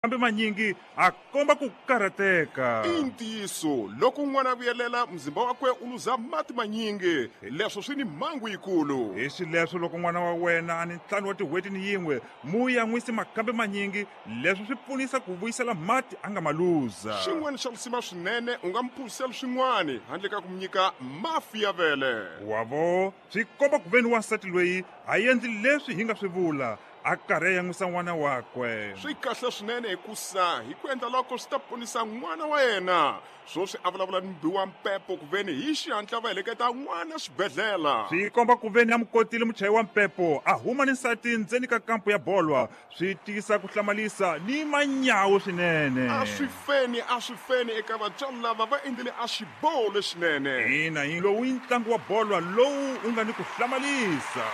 Kambe manyingi a komba ku karhateka. I ntiyiso, loko n'wana a vuyelela, muzimba wakwe u luza mati manyingi. Leswo swi ni mhangu yikulu. Hi xileswo loko n'wana wa wena a ni ntlhanu wa tin'hweti ni yin'we, mu yan'wisi makambe manyingi. Leswo swi pfunisa ku vuyisela mati a nga ma luza. Xin'wana xa lisima swinene, u nga mu phuziseli swin'wana handle ka ku mu nyika mafi ya vele. Wa vo, swi komba ku veni wansati loyi a endli leswi hi nga swi vula. A karhi a yan'wisa n'wana wakwe. Swi kahle swinene hikusa hi ku endla loko swi ta ponisa n'wana wa yena. Swoswi a vulavula ni mubi wa mpepo kuveni hi xihatla va heleketa n'wana xibedhlela. Swi komba kuveni a mu kotile muchayi wa mpepo a huma ni nsati ndzeni ka kampu ya bolwa. Swi tisa ku hlamalisa ni manyawu swinene. A swi feni, a swi feni eka vatswari lava va endlile a xiboho lexinene. Ina, hi lowu i ntlangu wa bolwa lowu wu nga ni ku hlamalisa.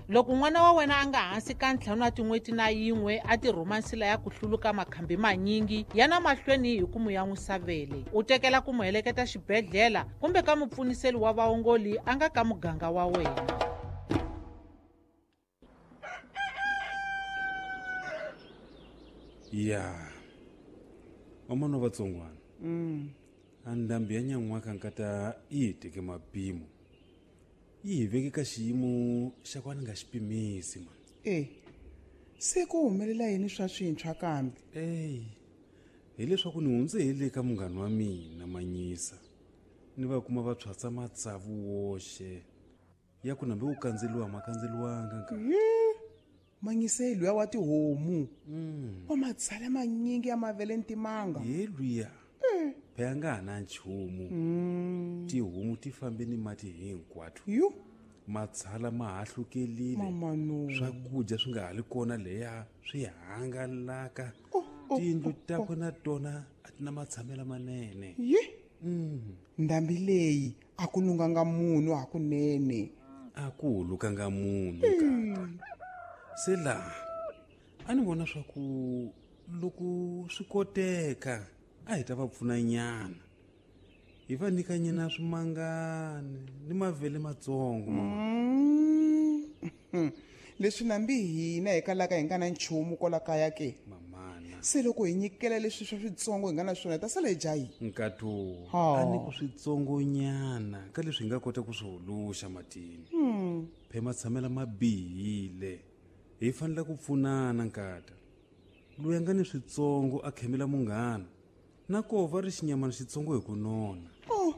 Loko n'wana wa wena a nga hansi ka ntlhanu wa tin'hweti na yin'we a ti rhuma nsila ya ku hluluka makhambi manyingi ya na mahlweni hi ku mu yan'wisa vele, u tekela ku mu heleketa xibedhlela kumbe ka mupfuniseli wa vaongoli a nga ka muganga wa wena. Ya vamana vatsongwana, a ndhambi ya nyan'waka nkata yi hi teke mapimo, yi hi veke ka xiyimo xa ku a ni nga xi pimisi mani. E se ku humelela yini swa swintshwa kambe? Eyi, hileswaku ni hundze hi le ka munghana wa mina Manyisa, ni va kuma va tshwatsa matsavu woxe ya ku nambe wu kandzeliwa ma kandzeliwanga nka. Manyise luya wa tihomu wa matshala manyingi ya mavele ni timanga. Ye luya phela nga ha na nchumu, tihomu ti fambe ni mati hinkwato. Yu matshala ma hahlukelile, mama no, swakudya swi nga ha li kona leya swi hangalaka. Oh, oh, tiyindlu oh, takwe na tona a ti na matshamelo manene. Yi ndhambi leyi a ku lunganga munhu hakunene. A ku hulukanga munhu kata. Se laha a ni vona swa ku loko swi koteka a hi ta va pfuna nyana, hi va nyika nyana swimangani ni mavele matsongo mama. Leswi nambi hina hi kalaka hi nga na nchumu kwala kaya ke. Mamana. Se loko hi nyikela leswi swa switsongo hi nga na swona hi ta sala hi dya yini? Nkato, Ha. a ni ku switsongonyana ka leswi hi nga kota ku swi huluxa matini. Phe matshamela ma bihile, hi fanele ku pfunana nkata. Loyi a nga ni switsongo a khemela munghana, na koho va ri xinyamana xitsongo hi ku nona. Oh.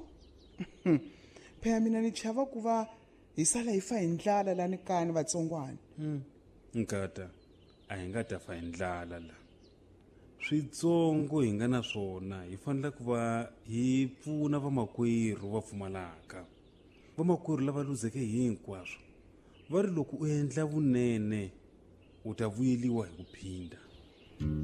Phela mina ni chava ku va hi sala hi fa hi ndlala lani kaya ni vatsongwana. Nkata, a hi nga ta fa hi ndlala la. Switsongo hi nga na swona hi fanele ku va hi pfuna vamakwerhu va pfumalaka. Vamakwerhu lava luzeke hinkwaswo va ri loko u endla vunene u ta vuyeliwa hi ku phinda.